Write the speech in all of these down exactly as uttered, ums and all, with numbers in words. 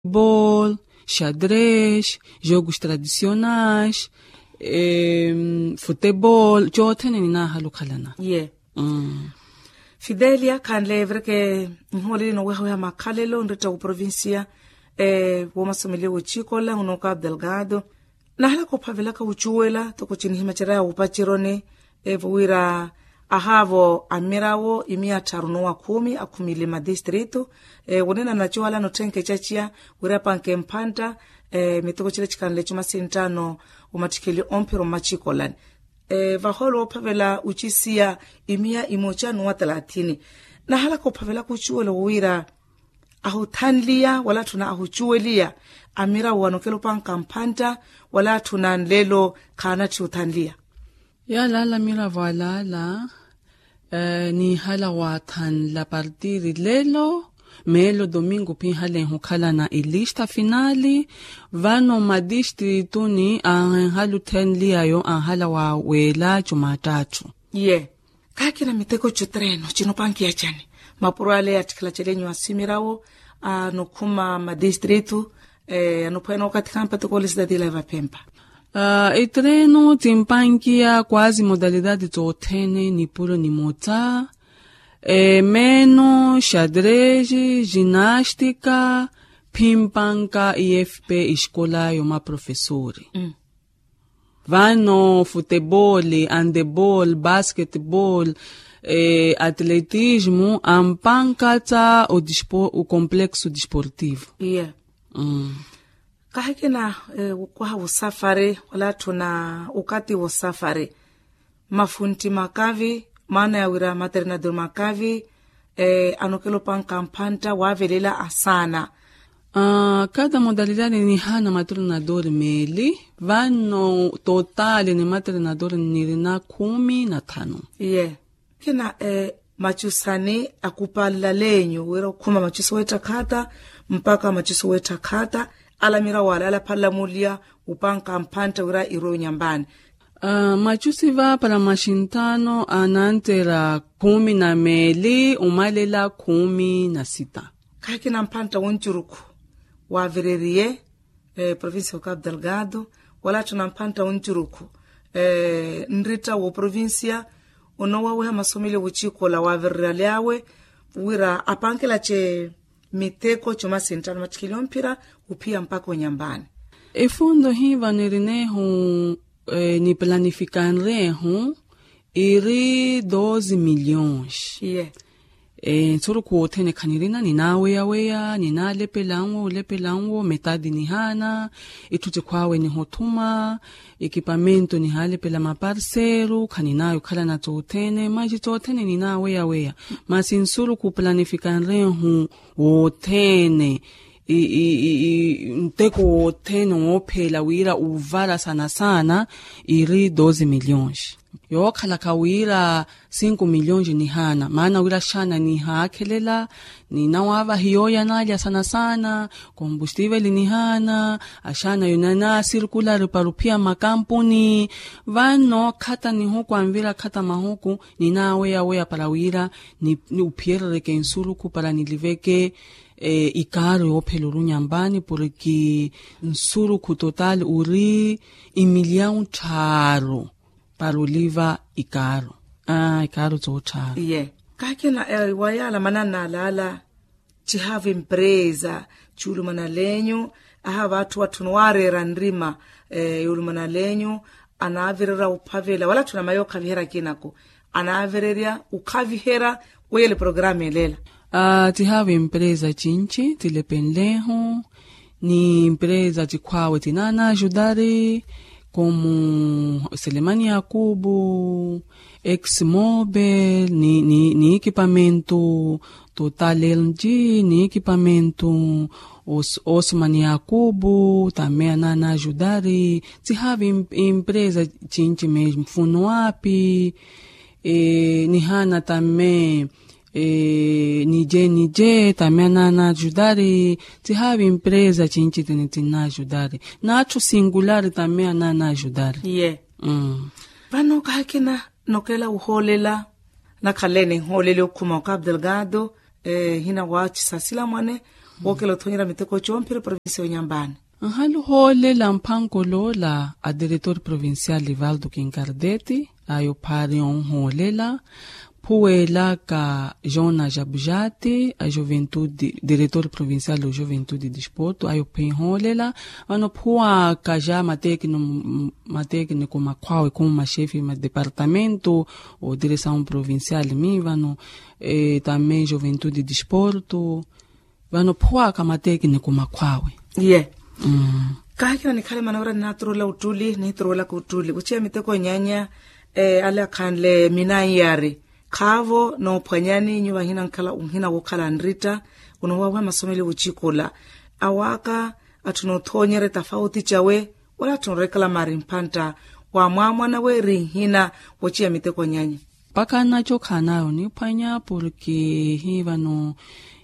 Bol, xadres, jogos tradicionais, futebol coothene ninaahala okhalana. Ye. Fidelia khanle vireke, nhooleli nowehaweha makhalelo nretta woprovincia, woomasomeliwa wochikola onooka abdelgado. Nahalaka ophavelaka wucuwela toko cinihimacerya wupacironi, evo wira ahaavo amirawo imiya tharu nowa khumi akhumile madistritu, wonina nacuwala notthenke caciya wira apanke mphantta, miteko cila cikanle cumasinttano omattikheli omphiro mmacikolani. Vahoolo woophavela wucisiya imiya imoca nowa talathini. Nahalaka ophavelaka wucuwela wowira ahuthanliya wala atthuna ahucuweliya, amirawo anokelopanka mphantta wala atthuna nlelo khaanatthi othanliya. Yalaala amiravo alaala, niihala waathanla partiri lelo, meelo domingo phinhaleeha okhalana ilista finali. Vano madistrituni anhala othenliyayo anhala waweela cumattatthu. Ye. Kaakina miteko cutreno cinopankiya cani? Mapuro ale attikhala calenyu asimirawo anokhuma madistritu, anophwena okathi khampa toko ole sitati ila evaphempa. Itreno timpankiya kwazi modalidadi tothene nipuro nimotsa, meeno xadres, ginastika, phimpanka ifp escola yomaprofesori. Vano futebol, andebol, basketbol, atletismo ampanka tsa o complexo desportivo. Kahikina okwaha wosafari wala atthuna okati wosafari, mafuntti makavi maana ya wira maternador makavi anokelopanka mphantta wavelela asaana. Kada modalidadi nihaana maternador meeli, vano totali ni maternador nirina khumi na thanu. Ye. Kina macusani akupalala enyu wira okhuma macusi weettakhata mpaka macusi weettakhata, alamira wala alaphalala muliya wupanka mphantta wira irwe onyambani. Macusi va para maxinthano anantera khumi na meeli omalela khumi na sita. Khakina mphantta woncurukhu wavereriye provincia wa capu delgado, wala atthu na mphantta woncurukhu nritta wo provincia onowaweha masomeliyo wochikola wavererya lyawe wira apankelache miteko chuma sinttano mattikhili omphira ophiya mpakha onyambani. Efundo hiva nirinehu niplanifikanerehu iri doze milhões. Nsurukhu wothene khanirina ninaweyaweya ninalepelanwo olepelanwo metadi nihaana, itthu tikhwawe nihothuma, ekipamento nihalepela maparseru khaninayo khalana tothene manji tothene ninaweyaweya. Masi nsurukhu planifikanrehu wothene nteko wothene woophela wira uvara sana sana iri doze milhões. Yookhalaka wira cinco milhões nihaana maana wira axaana nihaakhelela, ninawaavahi yooyanalya sana sana kombustivel nihaana, axaana yonana circular para ophiya makampuni. Vano khata nihuku anvira khata mahuku ninaweyaweya para wira niphiyerereke nsurukhu para niliveke ikaaro yoophela orunyambani porki nsurukhu total ori imilhão tthaaru para oliva ikaaro. Ikaaro toottharu. Ye. Kakina wayala mananna alaala chihaavi mpresa chuulumana lenyu, ahaavi atthu atthu niwareera nrima yoolumana lenyu anaavirerya ophavela wala atthu na mayi okhaviherya akinako anaavirerya okhaviherya. Weyele programa eleela. Tihaavi mpresa chinchi tilepenlehu ni mpresa tikhwaawe tinaana ajudari komu selemani yakubu, exmobel ni ekipamento total lng ni ekipamento osman yakubu tamme anaana ajudari. Tihaavi impresa chinchi me mfuno api nihaana tamme nije nije tamme anaana ajudari. Tihaavi impresa chinchi tini tinna ajudari n'atthu singular tamme anaana ajudari. Ye. Vano kaakina nokela wuhoolela nakhalene nhooleli okhuma okapu delgado ehina waachisa silamwane Wookela othoonyerya miteko comphira provincia yonyambaani. Nhalu hoolela mphankoloola a diretor provincial livaldo kinkardeti ayo phaari onhoolela. Phuwelaka jona jabujati a juventude diretor provincial o juventude disporto ayo phinhoolela. Vano phuwaka ja matekniko makhwawe khumu maxefi ma departamento o diresaun provincial mi vano. Tamme juventude disporto vano phuwaka matekniko makhwawe. Ye. Kahikina nikhale manawerya ninaturula uttuli nihituruwelaka uttuli kuchiya miteko nyanya. Ale akhanle minanyari khaavo noophwanyani nyuva nhina nkhala nhina wookhala nritta. Onoowaweha masomeli wuchikula awaaka atthu noothoonyerya tafauti cawe wala atthu nooreklama ari mphantta wa mwaamwana weeri nhina wochiya miteko nyanya. Mpakha naco khaanayo niphwanya porke hivano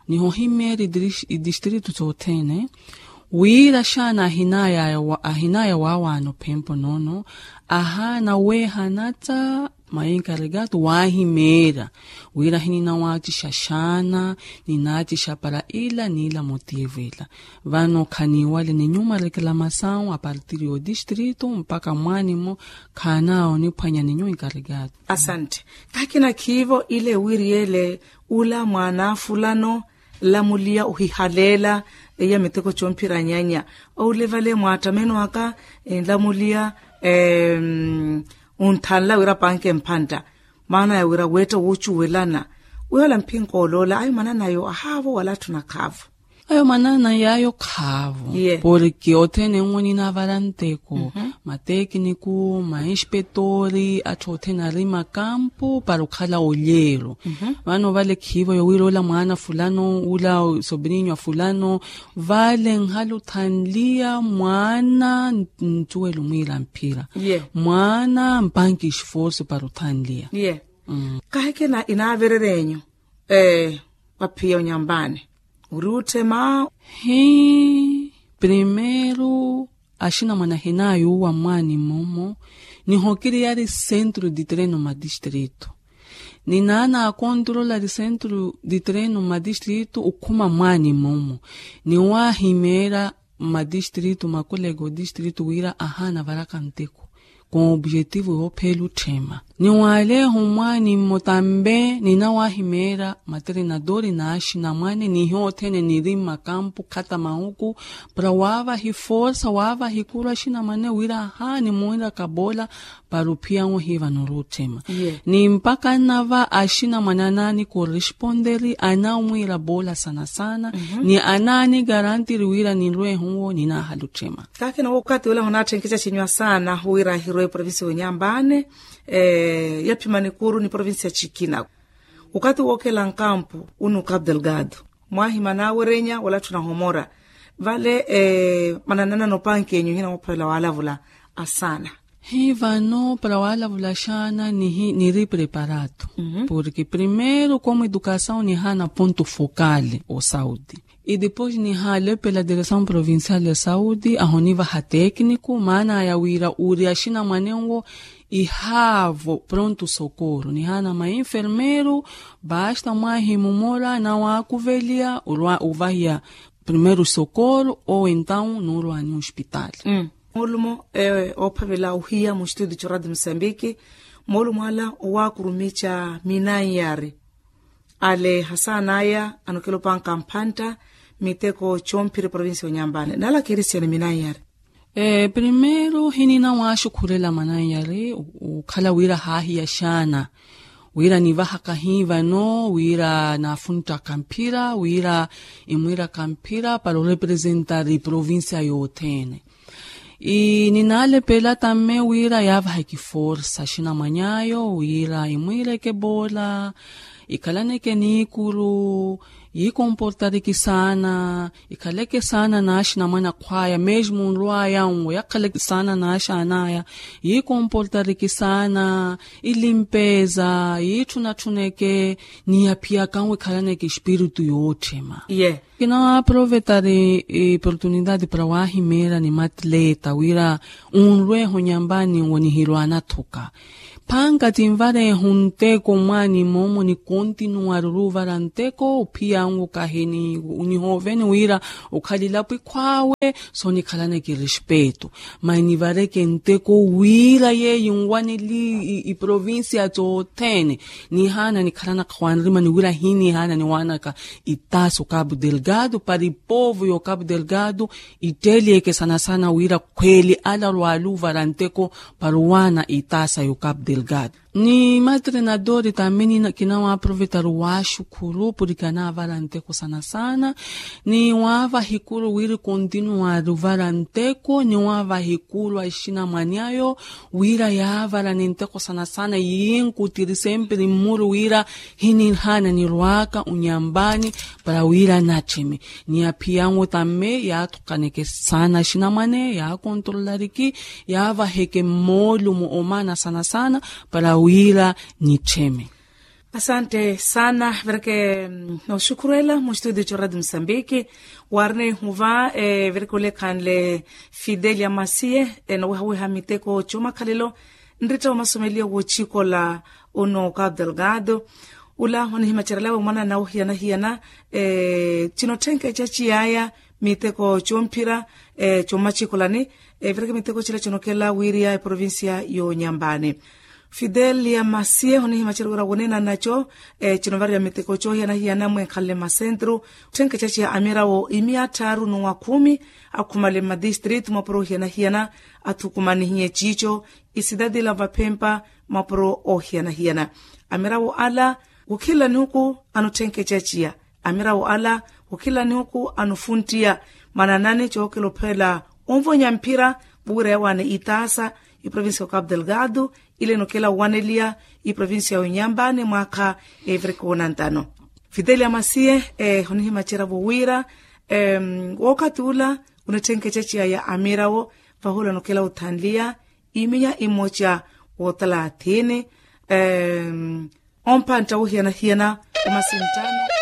nihohimeerya idistritu sothene wira xaana ahinaya waawaana ophempo noono ahaana weehanatsa mainkarikato waahimeerya wira hininawaacixa xaana ninaacixa para ila ni ila motivo ila. Vano khaniiwale ninyuma reklamasawu apartiri y'odistritu mpakha mwaanimo khaanawo niphwanya ninyuma inkarikato. Asante. Kakina khiivo ile wiriyele ula mwaana fulano lamuliya ohihaleela iya miteko comphira nyanya. Oule vale mwaattameno aka enlamuliya onthanla wira panke mphantta maana ya wira weetta woocuwelana. Wihoola mphinka oloola ayo mananayo ahaavo wala atthu nakhaavo. Ayo manana yaayo khaavo porke othene nwo ninavara nteko matekniku mainspetori atthu othene ari makampu para okhala olyeero. Vano vale khiivo yowira ola mwaana fulano ula sobrinyu a fulano vale nhala othanliya mwaana ncuwela omwiira mphira mwaana mpanki esforso para othanliya. Kahikina inaavererya enyu waphiya onyambaani ori otthema. Hi primeiro axinamwane ahinayuwa mwaani mmomo nihokiriyari centro de treino madistrito ninaana akontrolari centro de treino madistrito okhuma mwaani mmomo niwahimeera mmadistrito makoleka odistrito wira ahaana avaraka nteko com objetivo yoopheela otthema. Niwaaleeha omwaani mmo tambe ninawahimeera matreinadori n'axinamwane nihiyo othene niri mmakampu khata mahuku para waavaha eforsa waavaha ekuru axinamwane wira ahaani mwiiraka boola para ophiya nwo hiva nori otthema. Ni mpakha nnava axinamwane anaani corresponderi anaamwiira boola sana sana ni anaani garantiri wira ninrwehe nwo ninaahala otthema. Kakina wokati wela honaatthenkeca cinywa saana wira ahirwe provincia yonyambaani yaphimani kuru ni provincia cikina. Wokati wookela nkampu unu cabo delgado mwahima naawerenya wala atthu nahomora vale mananana nopankenyu hina woophwela waalavula asaana. Hi vano para waalavula xaana niri preparado porke primeiro como educasaw nihaana ponto fokale osaudi e depois nihaalepela diresaw provincial ya saudi ahonivaha tekniku maana aya wira ori axinamwane nwo ihaavo pronto sokoro nihaana mainfermeiro basta mwahimumora nawaakuveliya orwa ovahiya primeiro sokoro ou entaw noorwani ospitali. Moolumo oophavela ohiya mustudio coradio musambiki moolumo ala owaakurumica minanyari ale hasaana aya anokelopanka mphantta miteko comphiri provincia yonyambaani nala kristian minanyari. Primeiro hinina waaxukhurela mananyari okhala wira haahiya xaana wira nivahaka hi vano wira naafunttaka mphira wira imwiiraka mphira para orepresentari provincia yothene. Ninaalepela tamme wira yaavaheke forsa axinamwany'ayo wira imwiireke boola ikhalaneke niikuru yiikomportariki saana ikhaleke saana n'axinamwane akhw'aya mesmo nrw'aya nwo yakhaleke saana n'axaan'aya yiikomportariki saana ilimpeza yiitthunatthuneke ni yaphiyaka nwo ikhalaneke espiritu yootthema. Ye Kinawaprovetari oportunidadi para wahimeera ni matleta wira unrwehe onyambani wonihirwana thuka. Phanka tinvarehu nteko mwani momo ni kontinuwari oruvara nteko ophiyangu kahini nihoveni wira okhalilapo ikhwawe. Sonikhalaneke respeto mani nivareke nteko wira yeyi nwaneli iprovincia tothene. Nihaana nikhalanaka wanrimani wira hinihaana niwanaka itasa okapu delgado para ipovo y'okapu delgado itteliyeke sana sana wira khweli ala rwaluvara nteko para owana itasa y'okapu delgado. Ni matrenadori tamini kinawaprovetari waxukhuru puriki anavara nteko sana sana. Ni wavaha ikuru wiri kontinuwari ovara nteko ni wavaha ikuru a ixinamwani ayo wira yavara ni nteko sana sana yinkutiri sempiri mmuru wira hinihaana nirwaka onyambani para wira nattheme. Ni aphiyangu tamme yathukaneke sana axinamwane yakontrolariki yavaheke mmoolumo omana sana sana para wira nittheme. Asante sana vereke. Noxukhurela mu studio co radio mosambiki warine huva vereke olekhanle fidelia masiye nowehaweha miteko comakhalelo nritta omasomeliyo wochikola uno capu delgado ula onihimacerelawe mwana na ohiyana-hiyana. Cinotthenkeca ciyaya miteko comphira comacikolani. Vireke miteko cila conokela wiriya eprovincia yonyambani fidelia masiye onihimacera wira wonena naco. Cinovariya miteko cohiyana-hiyana mwenkhanle masentru otthenkeca ciya amirawo imiya tthaaru n'uwa khumi akhumale mmadistritu mwapuro ohiyana-hiyana athukumanihiye ciico isidadi la vaphempa mapuro ohiyana-hiyana. Amirawo ala khukhila nihuku anotthenkeca ciya amirawo ala khukhila nihuku anofuntiya mananani cookela ophela onvonya mphira vuwira yawane itaasa iprovincia ya capu delgado ile nokela owaneliya iprovincia ya onyambani mwaakha eviriki wonantano. Fidelia masiye onihimaceravo wira wookathi ula onetthenkeca ciya ya amirawo vahula nokela othanliya iminya imoca wothalathini omphantta wohiyana-hiyana omasinttano.